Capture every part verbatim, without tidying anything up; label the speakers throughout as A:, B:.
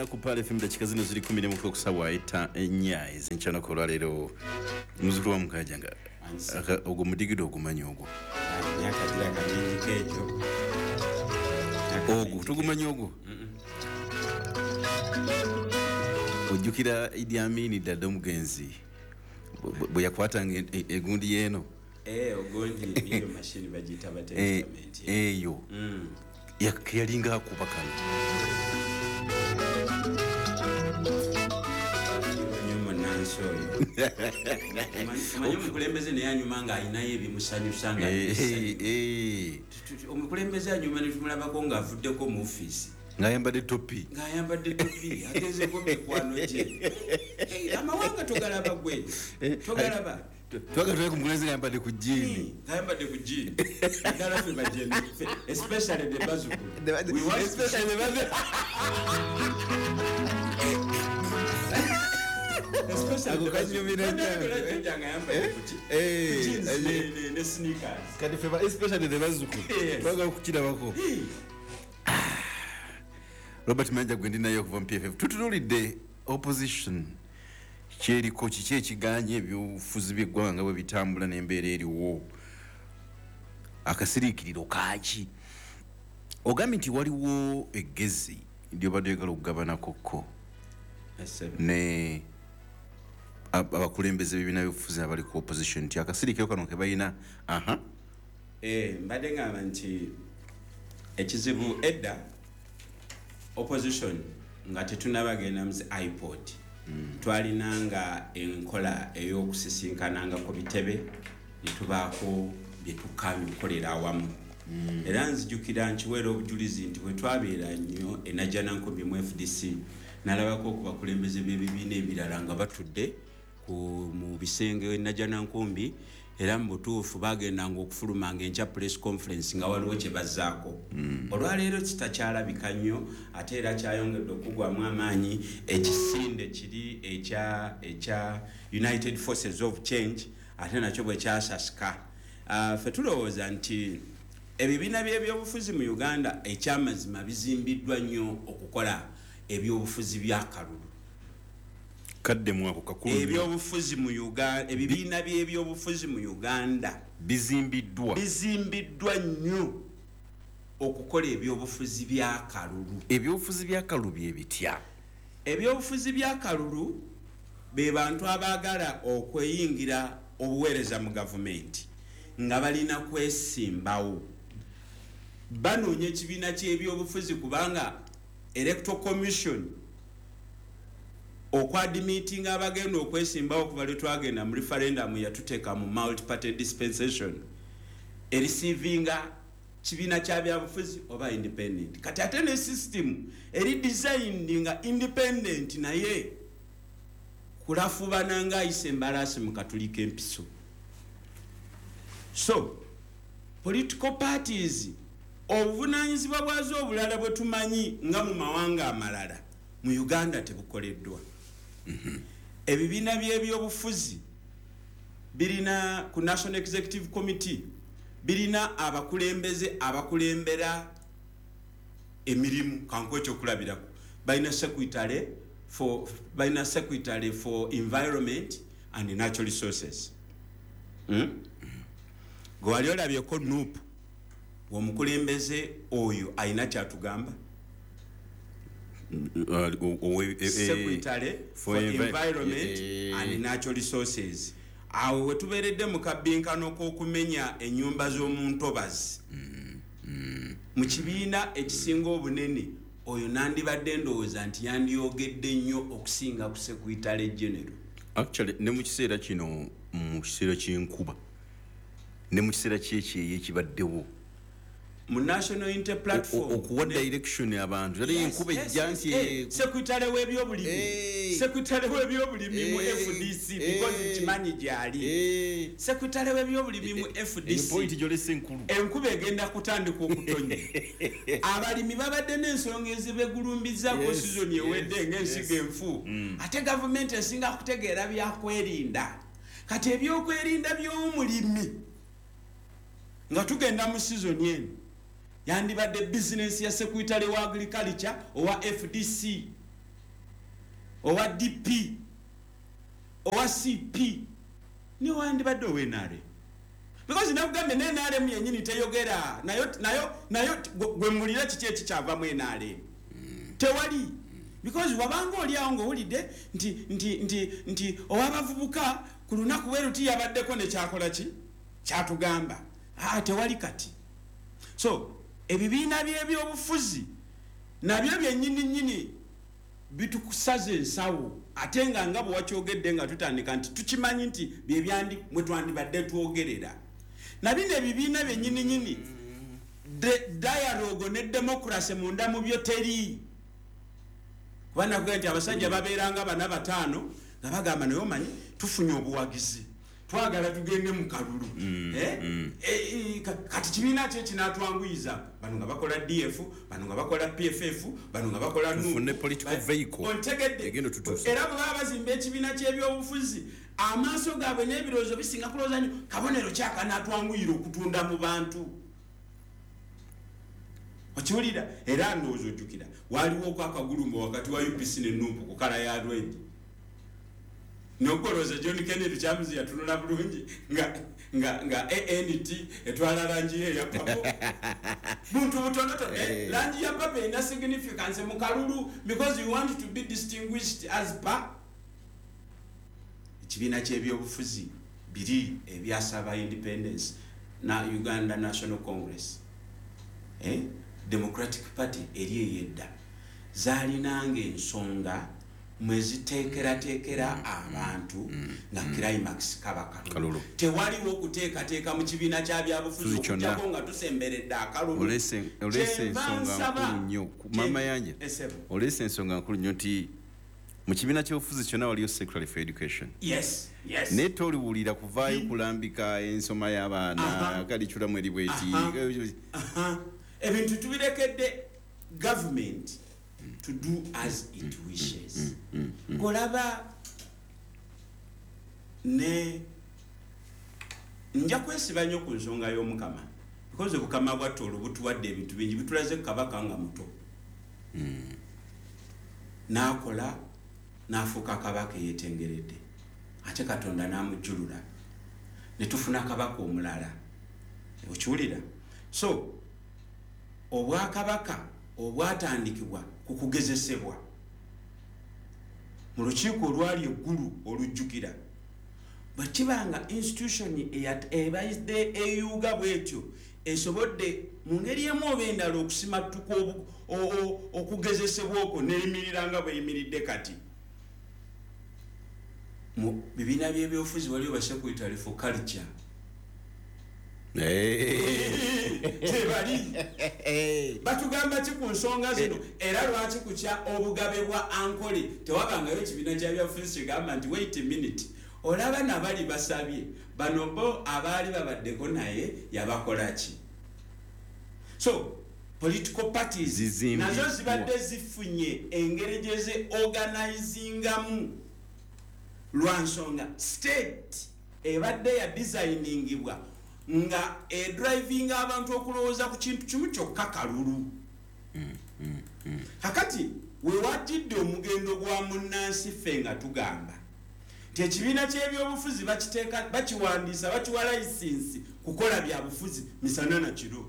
A: mwena ku Pearl F M. Dakika zino ziri kumi n'emu ku ssaawa etta ennya ez'enkya olwaleero. Muzukulu wa Mukajanga, ogwo mudigido ogumanyi ogwo?
B: Myaka giraga mingi ekyo.
A: Ogwo tugumanyi ogwo? Ojjukira Idi Amin Dada omugenzi bwe yakwatanga egundi yeeno?
B: Eh, ogundi iyo mashini bagiyita batempament.
A: Eyo yalinga akuba kano.
B: Manyi omukulembeze naye anyuma nga ayinayo ebimusanyusa, nga omukulembeze anyuma ne tumulabako ng'avuddeko mu ofiisi
A: ng'ayambadde topi,
B: ng'ayambadde topi, agezeko mikwano gye. Amawanga togalaba gwe, togalaba.
A: Twagala tulabe ku mukulembeze ng'ayambadde ku jjiini,
B: ng'ayambadde ku jjiini, naddala ffe bajeni, especially the bazukulu,
A: especially the bazukulu.
B: Ako kanyumira nnyo ne sneakers.
A: Kati ffe especially the bazzukulu twagala okukirabako. Robert Mayanja gwe ndi naye okuva mu P F F. Tutunuulidde opposition kyeriko, kiki ekiganye ebyobufuzi by'eggwanga bwe bitambula n'embeera eriwo, akasiriikiriro kaaki? Ogambye nti waliwo eggezi lyobadde oyagala okugabanakokko ne abakulembeze b'ebibiina by'obufuzi abali ku opposition, nti akasiriikiriro kano ke balina. Aha.
B: Eh, mbadde ngamba nti ekizibu, edda opposition nga tetunnabagenda mu IPOD, twalinanga enkola ey'okusisinkananga ku bitebe ne tubaako bye tukkaanya okukolera awamu. Era nzijukira nkiweera obujulizi nti bwe twabeera nnyo e Najjanankumbi mu F D C, nalabako ku bakulembeze b'ebibiina ebirala nga batudde mu bisenge e Najjanankumbi, era mu butuufu bagendanga okufulumanga enkya press conference nga waliwo kye bazzaako. Olwaleero kitakyalabika nnyo, ate era kyayongedde okugwamu amaanyi ekisinde kiri ekya ekya United Forces of Change, ate nakyo bwe kyasasika. uh, ffe tulowooza nti ebibiina by'ebyobufuzi mu Uganda ekyamazima bizimbiddwa nnyo okukola ebyobufuzi by'akalulu.
A: Kaddemu ako, kakulu.
B: Ebyobufuzi mu Uganda, ebibiina by'ebyobufuzi mu Uganda
A: bizimbiddwa
B: bizimbiddwa nnyo okukola ebyobufuzi by'akalulu.
A: Ebyobufuzi by'akalulu bye bitya?
B: Ebyobufuzi by'akalulu be bantu abaagala okweyingira obuweereza mu gavumenti nga balina kwesimbawo, banoonya ekibiina ky'ebyobufuzi, kubanga Electoral Commission okwadmittinga abagenda okwesimbawo okuva lwe twagenda mu referendum yatuteeka mu multiparty dispensation, ereceivinga kibiina kya byabufuzi oba independent. Kati ate ne system eri designed nga independent, naye kulafubana nga ayisa embalaasi mu katuli k'empiso. So political parties, obuvunanyizibwa bwazo obulala bwe tumanyi nga mu mawanga amalala, mu Uganda tebukoleddwa. Ebibiina by'ebyobufuzi birina ku National Executive Committee, birina abakulembeze abakulembera emirimu. Kankuwe ekyokulabirako, balina secretary for balina secretary for environment and natural resources, hmm? Gwe wali olabyeko NUP omukulembeze oyo alina kyatugamba? Secretary for environment and natural resources, awo wetubeeredde mu kabbinkano k'okumenya ennyumba z'omu ntobazi mu kibiina ekisinga obunene, oyo nandibadde ndowooza nti yandyogedde nnyo okusinga ku secretary general.
A: Actually, ne mu kiseera kino, mu kiseera ky'enkuba ne mu kiseera kyekyeyo ekibaddewo,
B: mu National Unity Platform
A: okuwa direction abantu, ate enkuba ejja nti
B: eh, secretary w'ebyobulimi, secretary w'ebyobulimi mu F D C, because nkimanyi gyali, secretary w'ebyobulimi mu F D C,
A: point gyolese enkulu.
B: Enkuba egenda kutandika okutonya, abalimi babadde n'ensonga ezibegulumbizaako sizoni ewedde ng'ensigo enfu, mm. ate gavumenti esinga kutegeera byakwerinda. Kati ebyokwerinda by'omulimi nga tugenda mu sizoni eno yandibadde bizinesi ya secretary wa agriculture owa F D C. Owa D P, owa C P, newandibadde owa N R M. Because nakugambye ne N R M yennyini teyogera, nayo nayo nayo gwe mulira kiki ekikyavamu N R M? Tewali. Because wabanga oli awo ng'owulidde nti nti nti nti ow'abavubuka ku lunaku bwe luti yabaddeko ne kyakola ki? Kyatugamba. Ah, tewali kati. So ebibiina by'ebyobufuzi nabyo byennyini nnyini bitukusaza ensawo, ate nga nga bwe wakyogedde nga tutandika nti tukimanyi nti bye byandi mwe twandibadde twogerera. Na bino ebibiina byennyini nnyini dialogue ne democracy munda mu byo teri. Kuba nakugambye nti abasajja babeeranga bana bataano nga bagamba naye omanyi tufunye obuwagizi, twagala tugende mu kalulu. Eh, kati kibiina ki ekinaatwanguyiza? Bano nga bakola D F, bano nga bakola P F F, bano nga bakola N U P.
A: Tufune political vehicle.
B: Ontegedde. Era bwe baba bazimba ekibiina ky'ebyobufuzi, amaaso gaabwe n'ebirowoozo bisinga kulowooza nnyo kabonero ki akanaatwanguyira okutunda mu bantu. Okiwulira? Era ndowooza ojjukira waaliwo okwakagulumba wakati wa U P C ne N U P ku kala ya red. Nogolooza John Kennedy Lukyamuzi yatunula bulungi nga nga nga A N T etwala langi ye ya purple. Buntu butonotono, langi ya purple erina significance mu kalulu because you want to be distinguished as per ekibiina ky'ebyobufuzi biri ebyasaba independence na Uganda National Congress. Eh? Democratic Party eri eyedda zaalinanga ensonga mweziteekerateekera abantu nga climax kaba kalulu. Tewaliwo okuteekateeka mu kibiina kya byabufuzi okuggyako nga tusemberedde akalulu.
A: Oleese ensonga nkulu nnyo Mama Yanja, oleese ensonga nkulu nnyo nti mu kibiina ky'obufuzi kyonna waliyo Secretary for Education.
B: Yes, yes.
A: Naye toliwulira kuvaayo kulambika ensoma y'abaana kaliculamu eri bweti.
B: Ebintu tubirekedde government to do as it wishes. Kolaba ne nja kwesiba nnyo ku nsonga y'Omukama because obukama bwa Tooro butuwadde ebintu bingi, bitulaze kabaka nga muto. N'akola n'afuuka kabaka eyeetengeredde, ate Katonda n'amujjulula ne tufuna kabaka omulala. Okiwulira? So obwakabaka obwatandikibwa ku kugezesebwa mu lukiiko olwali eggulu olujjukira, bwe kibanga institution ebadde eyuuga bw'etyo esobodde mu ngeri emu oba endala okusimattuka okugezesebwa okwo n'eyimirira nga bw'eyimiridde kati. Mu bibiina by'ebyobufuzi waliwo ba secretary for culture. Tebali batugamba ki ku nsonga zino? Era lwaki kukya obugabe bwa Ankole tewabangayo ekibiina kya byabufuzi kigamba nti wait a minute, olaba nabali basabye bano bo abaali babaddeko naye yabakola ki? So political parties nazo zibadde zifunye engeri gye ze organizingamu lwa nsonga state ebadde ya designingibwa nga edrivinga abantu okulowooza ku kintu kimu kyokka kalulu. Kakati we wajjidde omugendo gwa munnansi ffe nga tugamba nti ekibiina ky'ebyobufuzi bakiteeka bakiwandiisa bakiwa layisinsi kukola byabufuzi misana na kiro.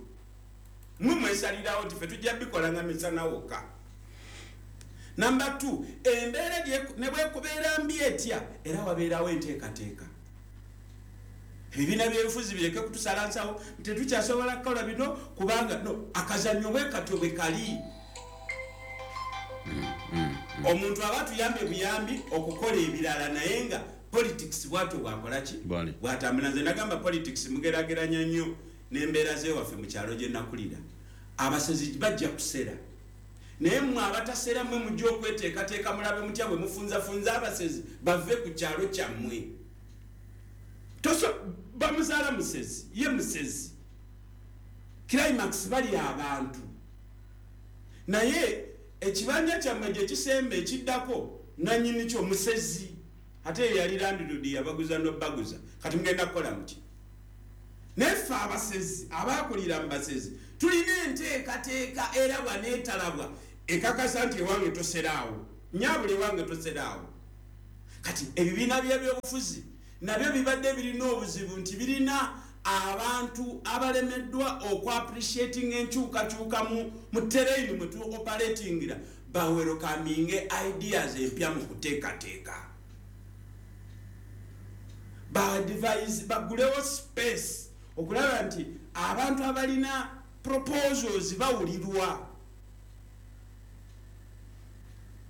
B: Mmwe mwesalirawo nti ffe tujja bikola nga misana wokka. Number two, embeera ne bwekubeera mbi etya era wabeerawo enteekateeka. Ebibiina by'ebifuzi bireke kutusala nsawo tetukyasobola kukola bino kubanga no akazannyo bwe katyo bwe kali. Omuntu aba tuyambye buyambi okukola ebirala naye nga politics bw'atyo bw'akola ki? Bw'atambula. Nze nagamba politics mugeraageranya nnyo n'embeera z'ewaffe mu kyalo gye nakulira. Abasezi bajja kusera, naye mmwe abatasera mmwe mujja okweteekateeka mulabe mutya bwe mufunzafunza abasezi bave ku kyalo kyammwe. Toso bamuzaala musezi, ye musezi. Climax bali abantu. Naye ekibanja kyammwe gye kisemba ekiddako nannyini kyo musezi. Ate yali landlord yabaguza n'obbaguza. Kati mugenda kukola muki? Naye ffe abasezi abaakulira mu basezi tulina enteekateeka erabwa n'etalabwa ekakasa nti ewange toseraawo. Nyabule wange toseraawo. Kati ebibiina by'ebyobufuzi nabyo bibadde birina obuzibu nti birina abantu abalemeddwa oku-appreciating enkyukakyuka mu terrain mwe tu operatingira, bawelcominge ideas empya mu kuteekateeka, ba-devise, bagulewo space okulaba nti abantu abalina proposals bawulirwa.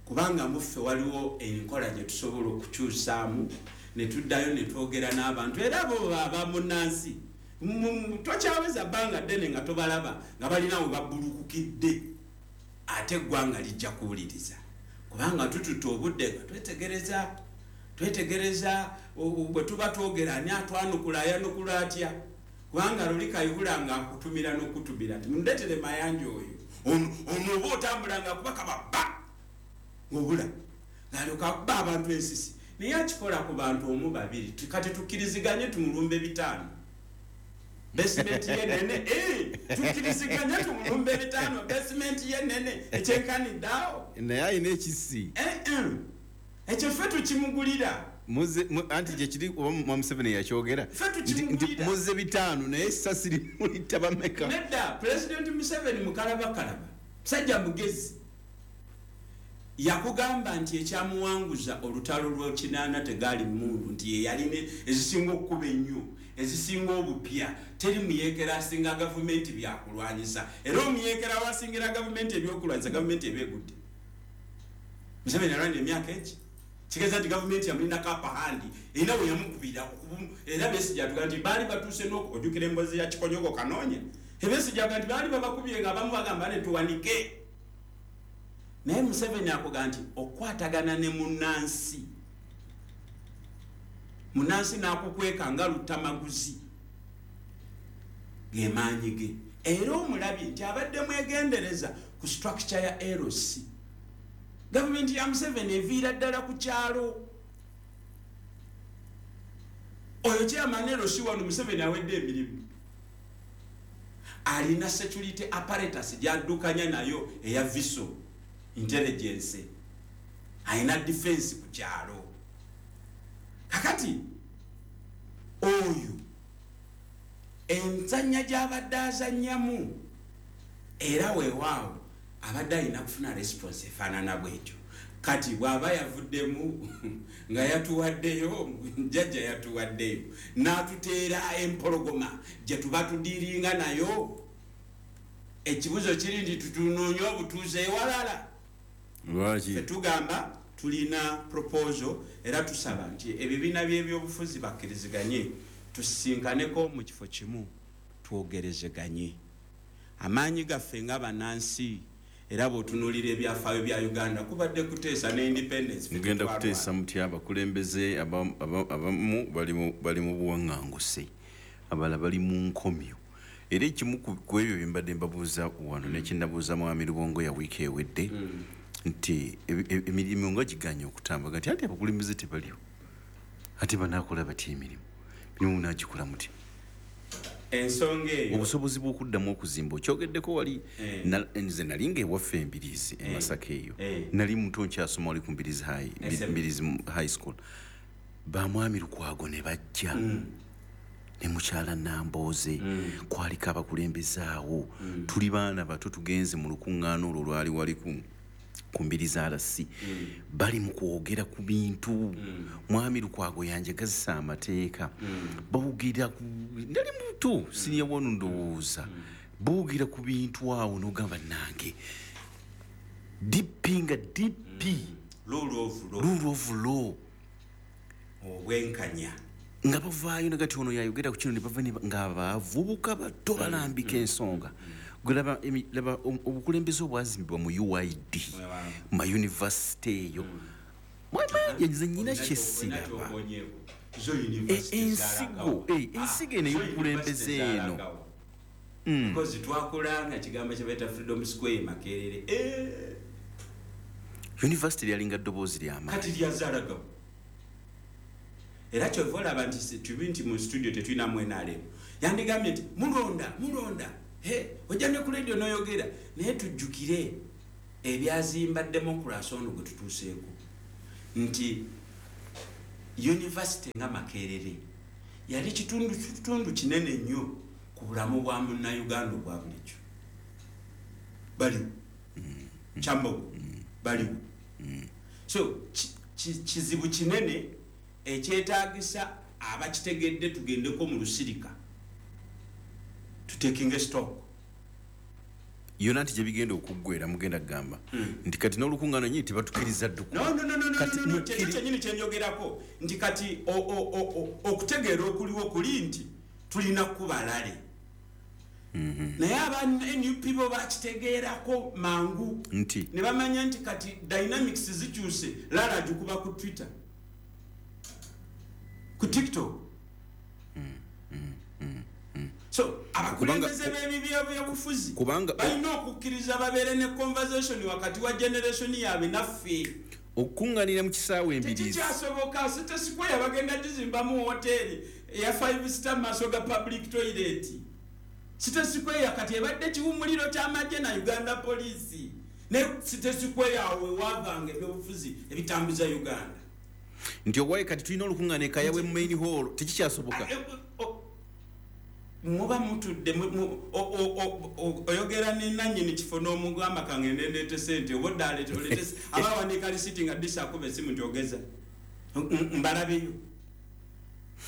B: Kubanga muffe waliwo enkola gye tusobola okukyusaamu ne tuddayo ne twogera n'abantu, era abo baba munnansi tokyaweza bbanga ddene nga tobalaba nga balina we babbulukukidde, ate eggwanga lijja kuwuliriza kubanga tututte obudde nga twetegereza twetegereza bwe tuba twogera ani atwanukula, ayanukula atya. Kubanga luli Kayihura nga akutumira n'okutumira nti mundeetere Mayanja oyo, ono oba otambula nga akuba kababa ng'obula ng'alyoka akuba abantu ensisi, naye akikola ku bantu omu babiri. Kati tukkiriziganye tumulumbe bitaano, basement ye nene, tukkiriziganye tumulumbe bitaano, basement ye nene ekyenkanidde awo,
A: naye alina ekisi
B: ekyo ffe tukimugulira.
A: Anti gyekiri oba Museveni yakyogera nti muze bitaano naye essasi limulita bameka.
B: Nedda, Pulezidenti Museveni mukalabakalaba, musajja mugezi, yakugamba nti ekyamuwanguza olutalo lw'ekinaana tegaali mmundu, nti ye yalina ezisinga okukuba ennyo, ezisinga obupya, teri muyeekera asinga gavumenti byakulwanyisa, era omuyeekera wasingira gavumenti ebyokulwanyisa gavumenti eba egudde. Museveni alwanya emyaka egi kigeza nti gavumenti yamulinako apahandi erina we yamukubira, era Besigye atugaa nti baali batuuse n'okujjukira emboozi ya Kikonyogo Kanoonya, Besigye agaa nti baali babakubye nga abamu bagamba ne tuwanike. Naye Museveni akugaa nti okwatagana ne munnansi, munnansi n'akukweka nga Luttamaguzi ge maanyi ge. Era omulabye nti abadde mwegendereza ku structure ya L C. Gavumenti ya Museveni eviira ddala ku kyalo. Oyo chairman L C wano Museveni awedde emirimu, alina security apparatus gy'addukanya nayo eya V I S O intelligence, alina defense ku kyalo. Kakati oyo enzannya gy'abadde azannyamu, era weewaawo abadde alina kufuna response efaanana bwetyo. Kati bw'aba yavuddemu nga yatuwaddeyo, jjajja yatuwaddeyo n'atuteera empologoma gye tuba tudiiringa nayo, ekibuzo kiri nti tutunoonye obutuuze ewalala.
A: Lwaki?
B: Tugamba tulina proposal, era tusaba nti ebibiina by'ebyobufuzi bakkiriziganye tusisinkaneko mu kifo kimu twogerezeganye amaanyi gaffe nga bannansi. Era bw'otunuulira ebyafaayo bya Uganda kubadde kuteesa ne independence.
A: Mugenda kuteesa mutya? Abakulembeze abamu bali mu buwaŋŋanguse, abalala bali mu nkomyo. Era ekimu ku ebyo bye mbadde mbabuuza wano nekinnabuuza Mwami Lubongo ya wiiki ewedde nti emirimu nga giganye okutambula, nti ate abakulembeze tebaliwo, ate banaakola batya emirimu? Mirimu munaagikola mutya?
B: Ensonga eyo,
A: obusobozi bw'okuddamu okuzimba okyogeddeko wali. Nze nali nga ewaffe Embirizi e Masaka eyo, nali muto nkyasoma wali ku Mbirizi High, Mbirizi High School, bamwami Lukwago ne bajja ne mukyala Nambooze, kwaliko abakulembeze awo, tuli baana bato, tugenze mu lukuŋŋaana olwo lwali wali ku ku Mbirizi R C, bali mu kwogera ku bintu, Mwami Lukwago yanjagazisa amateeka, boogera ku, nali muto, senior one ndowooza, boogera ku bintu awo n'ogamba nange D P nga D P,
B: rule of law,
A: rule of law,
B: obwenkanya,
A: nga bavaayo nagati ono yayogera ku kino ne bava nga abavubuka bato balambika ensonga. Laba laba obukulembeze obwazimbibwa mu U Y D, ma university eyo, mwamanya nze nyina kyesiraba ensigo ensigo eno ey'obukulembeze eno.
B: Because twakulanga kigambo kye bayita Freedom Square Makerere.
A: University lyalinga ddoboozi lyamaanyi.
B: Kati lyazaalagawo. Era kyova olaba nti tubi nti mu studio tetulinamu N R M, yandigambye nti mulonda mulonda, ojja ne ku radio n'oyogera, naye tujjukire Ebyazimba democracy ono gwe tutuuseeko nti university nga Makerere yali kitundu kitundu kinene nnyo ku bulamu bwa munnayuganda obwa bulijjo. Baliwo Kyambogo, baliwo. So kizibu kinene ekyetaagisa abakitegedde tugendeko mu lusirika, tutekinga stock.
A: Yonna nti gyebigenda okuggwera mugenda kugamba nti kati n'olukuŋŋaana nyini tebatukiriza dduku.
B: No, no, no, no, no, no, kyekyo kyennyini kyenjogerako nti kati okutegeera okuliwo kuli nti tulina kubalale. Naye aba N U P bo bakitegeerako mangu
A: nti
B: ne bamanya nti kati dynamics zikyuse. Lala agikuba ku Twitter, ku TikTok. So abakulembeze b'ebyobufuzi balina okukkiriza babeere ne conversation wakati wa generation yaabwe naffe.
A: Okukuŋŋaanira mu kisaawe Embirizi
B: tekikyasoboka. City Square bagenda gizimbamu woteeri eya five star maaso ga public toilet. City Square kati ebadde kiwummuliro ky'amagye na Uganda Police, ne City Square awo wewaavanga ebyobufuzi ebitambuza Uganda.
A: Nti owaye kati tulina olukuŋŋaana e Kayabwe mu main hall, tekikyasoboka.
B: Muba mutudde oyogera ne nannyini kifo n'omugamba kangende ndeete ssente oba odda aleete oleete aba awandiika lisiti nga disa akuba essimu nti ogeza mbalabeyo.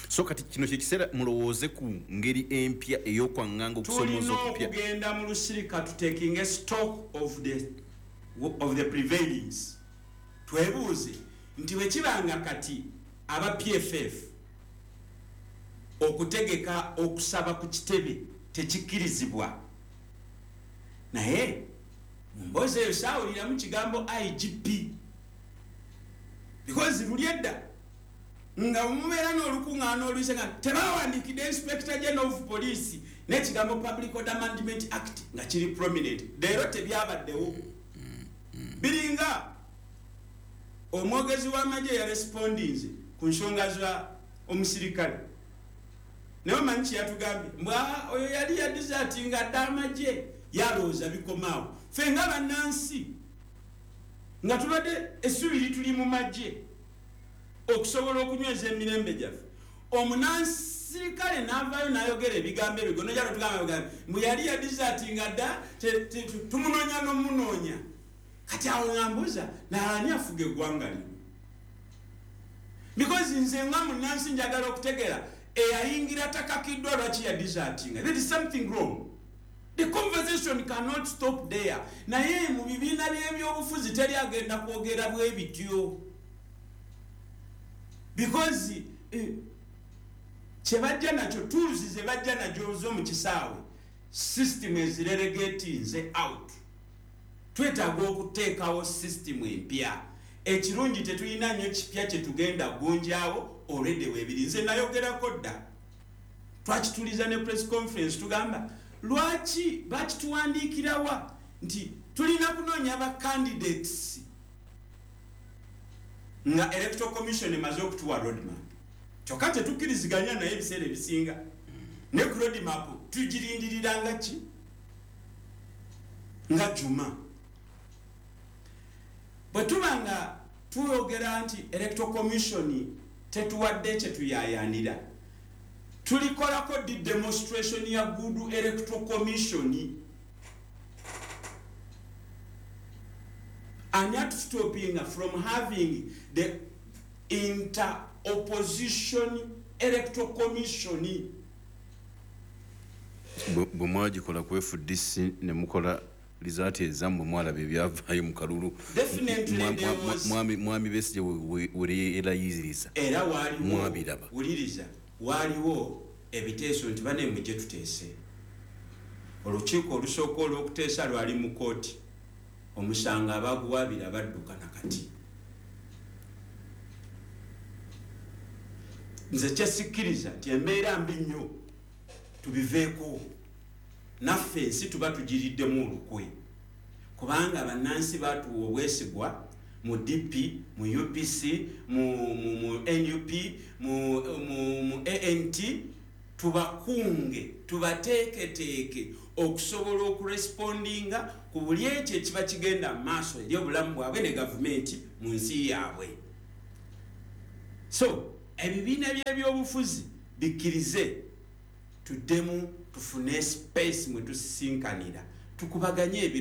A: So kati kino kyekiseera mulowooze ku ngeri empya ey'okwaŋŋanga okusomooza okupya.
B: Tulina okugenda mu lusirika tutekinge stock of the, of the prevailings. Twebuuze nti bwe kibanga kati aba P F F okutegeka okusaba ku kitebe tekikkirizibwa, naye mu mboozi eyo saawuliramu kigambo I G P, because luli edda nga mubeera n'olukuŋŋaana oluyise nga tebawandiikidde Inspector General of Police n'ekigambo Public Order Management Act nga kiri prominent. Leero tebyabaddewo. Biringa omwogezi w'amagye yarespondinze ku nsonga za omusirikale, naye omanyi kye yatugambye? Mbwa oyo yali yadizatinga dda amagye, yalowooza bikomaawo. Ffe nga bannansi nga tubadde essubi lituli mu magye okusobola okunyweza emirembe gyaffe, omunansirikale n'avaayo n'ayogera ebigambo ebyo gonojala tugamba mbu yali yadizatinga dda, tumunoonya n'omunoonya. Kati awo nga mbuuza naani afuga eggwanga lino? Because nze nga munnansi njagala okutegeera eyayingira takakiddwa lwaki yadizatinga. There is something wrong. The conversation cannot stop there. Naye mu bibiina by'ebyobufuzi teri agenda kwogera bwe bityo, because eh, kye bajja nakyo, tools ze bajja nazo zo mu kisaawe, system ezirelegatinze out. Twetaaga okuteekawo system empya. Ekirungi tetulina nnyo kipya kye tugenda gunjaawo, already weebiri. Nze nayogerako dda, twakituliza ne press conference, tugamba lwaki bakituwandiikirawa nti tulina kunoonya ba candidates nga Electoral Commission emaze okutuwa roadmap. Kyokka tetukkiriziganya naye ebiseera ebisinga, ne ku roadmap tugirindiriranga ki nga Juma. Bwe tuba nga tuyogera nti Electoral Commission tetuwadde kye tuyaayaanira, tulikolako di demonstration ya good Electoral Commission. Ani atustopping from having the inter-opposition Electoral Commission?
A: Bwe mwagikola ku F D C ne mukola lizaati ezammwe mwalaba ebyavaayo mu kalulu. Mwami Besigye weerayiziriza
B: era waaliwo, wuliriza, waaliwo ebiteeso nti bane mujje tuteese. Olukiiko olusooka olw'okuteesa lwali mu kkooti, omusango abaguwaabira badduka nakati. Nze kyesikkiriza nti embeera mbi nnyo, tubiveeko. Naffe ensi tuba tugiriddemu olukwe, kubanga bannansi batuwa obwesigwa mu D P, mu U P C, mu, mu, mu N U P, mu, mu, mu A N T, tubakunge tubateeketeeke okusobola okurespondinga ku buli ekyo ekiba kigenda mu maaso eri obulamu bwabwe ne gavumenti mu nsi yaabwe. So ebibiina byebyobufuzi bikkirize tuddemu tufune space mwe tusisinkanira, tukubaganye ebirowoozo.